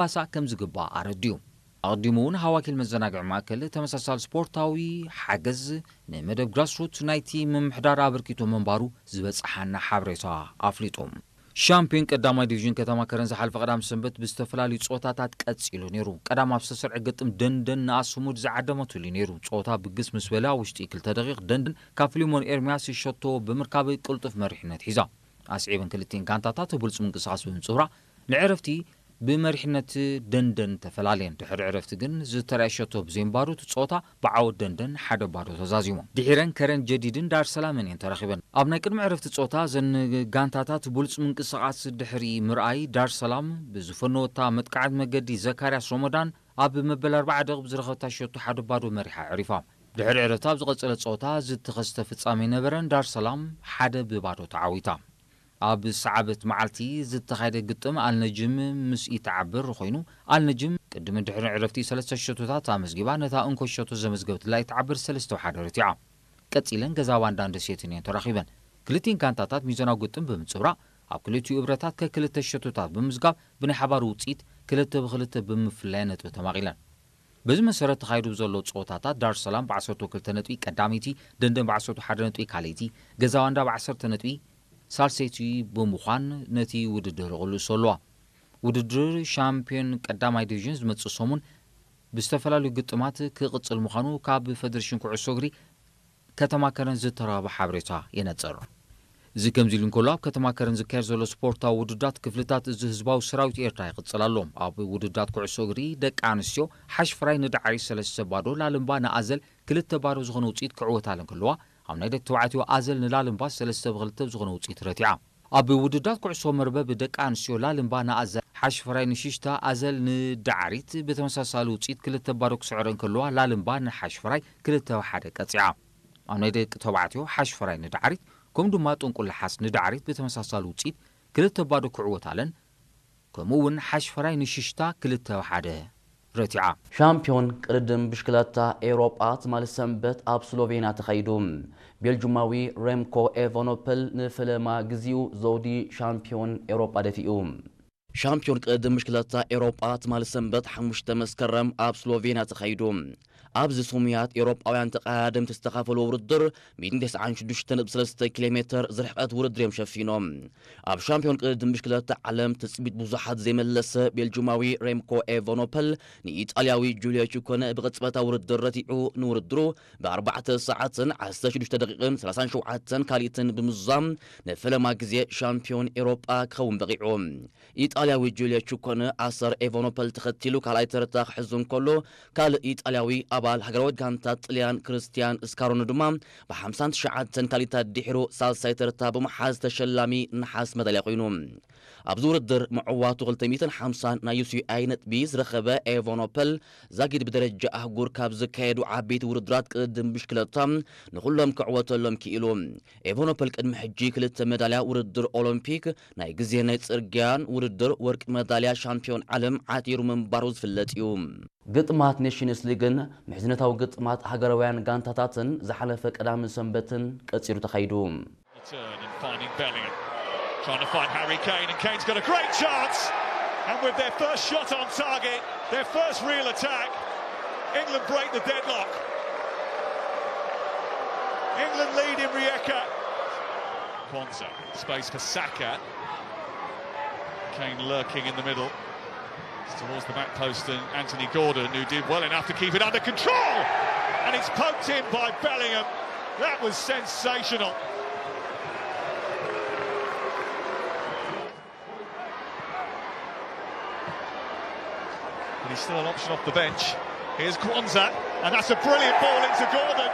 ክባሳእ ከም ዝግባእ ኣረዲኡ። ኣቐዲሙ እውን ሃዋኪል መዘናግዒ ማእከል ተመሳሳሊ ስፖርታዊ ሓገዝ ንመደብ ግራስሩት ናይቲ ምምሕዳር ኣበርኪቶ ምንባሩ ዝበጽሓና ሓበሬታ ኣፍሊጡ። ሻምፒዮን ቀዳማይ ዲቪዥን ከተማ ከረን ዝሓለፈ ቀዳም ሰንበት ብዝተፈላለዩ ጸወታታት ቀጺሉ ነይሩ። ቀዳም ኣብ ዝተሰርዐ ግጥም ደንደን ንኣስሙድ ዝዓደመትሉ ነይሩ። ጸወታ ብግስ ምስ በለ ኣብ ውሽጢ ክልተ ደቂቕ ደንደን ካብ ፊሊሞን ኤርምያስ ሸቶ ብምርካብ ቅልጡፍ መሪሕነት ሒዛ። ኣስዒበን ክልቲኤን ጋንታታት ብሉጽ ምንቅስቓስ ብምጽውራ ንዕረፍቲ ብመሪሕነት ደንደን ተፈላለየን። ድሕሪ ዕረፍቲ ግን ዝተረኣየ ሸቶ ብዘይምባሩ እቲ ጸወታ ብዓወት ደንደን ሓደ ባዶ ተዛዚሙ። ድሒረን ከረን ጀዲድን ዳር ሰላምን እየን ተራኺበን። ኣብ ናይ ቅድሚ ዕረፍቲ ጸወታ እዘን ጋንታታት ብሉጽ ምንቅስቓስ ድሕሪ ምርኣይ ዳር ሰላም ብዝፈነወታ መጥቃዕት መገዲ ዘካርያስ ሮሞዳን ኣብ መበል ኣርባዓ ደቂቕ ብዝረኸብታ ሸቶ ሓደ ባዶ መሪሓ ዕሪፋ። ድሕሪ ዕረፍቲ ኣብ ዝቐጸለ ጸወታ ዝተኸስተ ፍጻሜ ነበረን ዳር ሰላም ሓደ ብባዶ ተዓዊታ። ኣብ ሰዓበት መዓልቲ ዝተኻየደ ግጥም ኣልነጅም ምስ ኢተዓብር ኮይኑ ኣልነጅም ቅድሚ ድሕሪ ዕረፍቲ ሰለስተ ሸቶታት ኣመዝጊባ ነታ እንኮ ሸቶ ዘመዝገበትላ ኢተዓብር ሰለስተ ሓደ ረቲዓ። ቀጺለን ገዛ ባንዳን ደሴትን እየን ተራኺበን። ክልቲኤን ጋንታታት ሚዛናዊ ግጥም ብምጽብራቕ ኣብ ክልቲኡ እብረታት ከክልተ ሸቶታት ብምዝጋብ ብናይ ሓባር ውጽኢት ክልተ ብክልተ ብምፍላይ ነጥቢ ተማቒለን። በዚ መሰረት ተኻይዱ ብዘሎ ጸወታታት ዳር ሰላም ብዓሰርተ ክልተ ነጥቢ ቀዳመይቲ፣ ደንደን ብዓሰርተ ሓደ ነጥቢ ካልኣይቲ፣ ገዛ ባንዳ ብዓሰርተ ነጥቢ ሳልሰይቲ ብምዃን ነቲ ውድድር ይቕልሶ ኣለዋ። ውድድር ሻምፒዮን ቀዳማይ ዲቪዥን ዝመጽእ ሰሙን ብዝተፈላለዩ ግጥማት ክቕጽል ምዃኑ ካብ ፈደሬሽን ኩዕሶ እግሪ ከተማ ከረን ዝተረኸበ ሓበሬታ የነጽር። እዚ ከምዚ ኢሉ እንከሎ ኣብ ከተማ ከረን ዝካየድ ዘሎ ስፖርታዊ ውድዳት ክፍልታት እዚ ህዝባዊ ሰራዊት ኤርትራ ይቕጽል ኣሎ። ኣብ ውድዳት ኩዕሶ እግሪ ደቂ ኣንስትዮ ሓሽፍራይ ንዳዕሪ ሰለስተ ባዶ፣ ላልምባ ንኣዘል ክልተ ባዶ ዝኾነ ውጽኢት ክዕወታለን ከለዋ ኣብ ናይ ደቂ ተባዕትዮ ኣዘል ንላልምባ ሰለስተ ብክልተ ዝኾነ ውጽኢት ረቲዓ። ኣብ ውድዳት ኩዕሶ መርበብ ደቂ ኣንስትዮ ላልምባ ንኣዘል ሓሽፍራይ ንሽሽታ ኣዘል ንዳዕሪት ብተመሳሳሊ ውጽኢት ክልተ ባዶ ክስዕረን ከለዋ ላልምባ ንሓሽፍራይ ክልተ ሓደ ቀጺዓ። ኣብ ናይ ደቂ ተባዕትዮ ሓሽፍራይ ንዳዕሪት ከምኡ ድማ ጥንቁል ለሓስ ንዳዕሪት ብተመሳሳሊ ውጽኢት ክልተ ባዶ ክዕወታለን ከምኡ እውን ሓሽፍራይ ንሽሽታ ክልተ ሓደ ረቲዓ። ሻምፒዮን ቅድድም ብሽክለታ ኤውሮጳ ትማሊ ሰንበት ኣብ ስሎቬንያ ተኻይዱ። ቤልጁማዊ ሬምኮ ኤቫኖፐል ንፈለማ ግዜኡ ዘውዲ ሻምፒዮን ኤውሮጳ ደፊኡ። ሻምፒዮን ቅድድም ብሽክለታ ኤውሮጳ ትማሊ ሰንበት ሓሙሽተ መስከረም ኣብ ስሎቬንያ ተኻይዱ። ኣብዚ ስሙያት ኤውሮጳውያን ተቐዳደምቲ ዝተኻፈሉ ውድድር ሚእትን ተስዓን ሽዱሽተ ነጥቢ ሰለስተ ኪሎ ሜትር ዝርሕቐት ውድድር እዮም ሸፊኖም። ኣብ ሻምፒዮን ቅድድም ብሽክለታ ዓለም ትጽቢት ብዙሓት ዘይመለሰ ቤልጁማዊ ሬምኮ ኤቫኖፐል ንኢጣልያዊ ጁልዮ ቹኮነ ብቕጽበታዊ ውድድር ረቲዑ ንውድድሩ ብኣርባዕተ ሰዓትን ዓሰርተ ሽዱሽተ ደቂቕን ሰላሳን ሸውዓተን ካልኢትን ብምዝዛም ንፈለማ ግዜ ሻምፒዮን ኤውሮጳ ክኸውን በቒዑ። ኢጣልያዊ ጁልዮ ቹኮነ ኣሰር ኤቫኖፐል ተኸቲሉ ካልኣይ ተርታ ክሕዝ እንከሎ ካልእ ኢጣልያዊ ኣባል ሃገራዊት ጋንታ ጥልያን ክርስቲያን ስካሮኒ ድማ ብሓምሳን ትሽዓተን ካልኢታት ድሒሩ ሳልሳይ ተርታ ብምሓዝ ተሸላሚ ነሓስ መዳልያ ኮይኑ። ኣብዚ ውድድር ምዕዋቱ ክልተ ሚእትን ሓምሳን ናይ ዩ ሲ ኣይ ነጥቢ ዝረኸበ ኤቫኖፐል ዛጊድ ብደረጃ ኣህጉር ካብ ዝካየዱ ዓበይቲ ውድድራት ቅድድም ብሽክለታ ንኹሎም ክዕወተሎም ክኢሉ። ኤቫኖፐል ቅድሚ ሕጂ ክልተ መዳልያ ውድድር ኦሎምፒክ፣ ናይ ግዜ ናይ ጽርግያን ውድድር ወርቂ መዳልያ ሻምፒዮን ዓለም ዓቲሩ ምንባሩ ዝፍለጥ እዩ። ግጥማት ኔሽንስ ሊግን ምሕዝነታዊ ግጥማት ሃገራውያን ጋንታታትን ዝሓለፈ ቀዳምን ሰንበትን ቀጺሉ ተኻይዱ። Return and finding Bellingham. Trying to find Harry Kane, and Kane's got a great chance. And with their first shot on target, their first real attack, England break the deadlock. England lead in Rijeka. Quansah, space for Saka. Kane lurking in the middle. It's towards the back post and Anthony Gordon, who did well enough to keep it under control. And it's poked in by Bellingham. That was sensational. But he's still an option off the bench. Here's Quansah, and that's a brilliant ball into Gordon.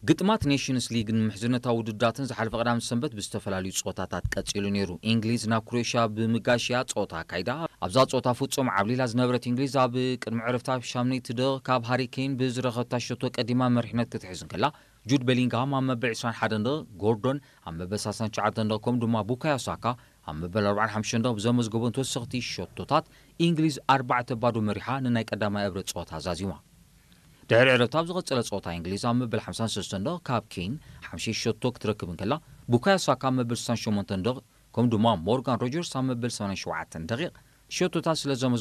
ግጥማት ኔሽንስ ሊግን ምሕዝነታዊ ውድዳትን ዝሓለፈ ቀዳም ሰንበት ብዝተፈላለዩ ጸወታታት ቀጺሉ ነይሩ። እንግሊዝ ናብ ክሮኤሽያ ብምጋሽያ ጸወታ ኣካይዳ። ኣብዛ ጸወታ ፍጹም ዓብሊላ ዝነበረት እንግሊዝ ኣብ ቅድሚ ዕረፍታ ኣብ ሻምነይቲ ደቂቕ ካብ ሃሪ ኬን ብዝረኸብታ ሸቶ ቀዲማ መሪሕነት ክትሕዝ እንከላ፣ ጁድ ቤሊንግሃም ኣብ መበል ዕስራን ሓደን ደቂቕ፣ ጎርዶን ኣብ መበል ሰላሳን ትሽዓተን ደቂቕ ከምኡ ድማ ቡካዮ ሳካ ኣብ መበል ኣርባዓን ሓሙሽተን ደቂቕ ብዘመዝገቦን ተወሰኽቲ ሸቶታት እንግሊዝ ኣርባዕተ ባዶ መሪሓ ንናይ ቀዳማይ እብረ ጸወታ ዛዚማ። ድሕሪ ዕረፍቲ ኣብ ዝቐጸለ ጸወታ እንግሊዝ ኣብ መበል ሓምሳን ሰለስተን ደቂቕ ካብ ኬን ሓምሻይ ሸቶ ክትረክብ እንከላ፣ ቡካዮ ሳካ ኣብ መበል ስሳን ሸሞንተን ደቂቕ ከምኡ ድማ ሞርጋን ሮጀርስ ኣብ መበል ሰማንያን ሸውዓተን ደቂቕ ሸቶታት ስለ ዘመ